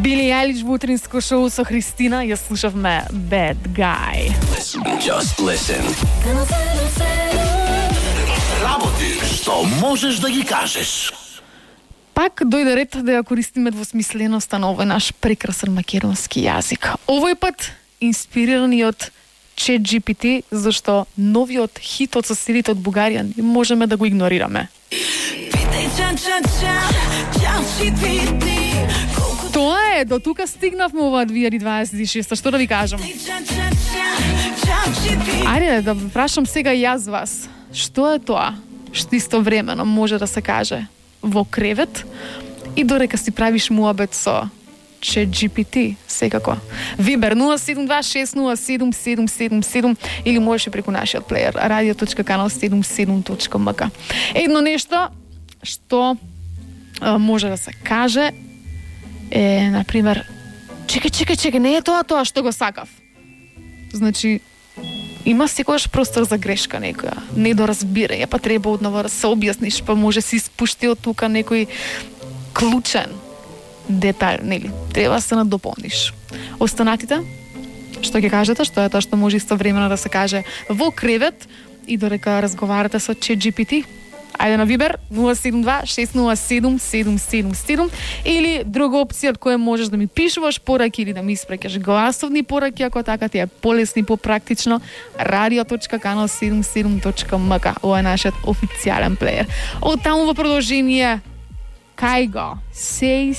Били Елич во утринско шоу со Христина, ја слушавме Bad Guy. Just listen. Работи што можеш да ги кажеш. Пак дојде ред да ја користиме двосмисленоста на овој наш прекрасен македонски јазик. Овој пат инспирирани од ChatGPT, зашто новиот хитот со силите од Бугарија не можеме да го игнорираме. Тоа е, до тука стигнавме ова 2026, што да ви кажам. Ајде да прашам сега јас вас, што е тоа што истовремено може да се каже во кревет и дорека си правиш муабет со ChatGPT, секако. Вибер 072607777 или можеш и преку нашиот плеер radio.canal77.mk. Едно нешто што може да се каже е, например, чекај, не е тоа што го сакав. Значи, има секогаш простор за грешка некоја, недоразбирање, па треба одново да се објасниш, па може си спушти од тука некој клучен детај, нели? Треба да се надополниш. Останатите, што ќе кажете, што е тоа што може истовремено да се каже во кревет и дорека разговарате со ChatGPT? Ајде на Вибер 072-607-777 или друга опција од која можеш да ми пишуваш пораки или да ми испраќаш гласовни пораки, ако така ти е полесно и попрактично, radio.canal77.mk. Ова е нашиот официјален плеер. Од таму во продолжение, кај го, say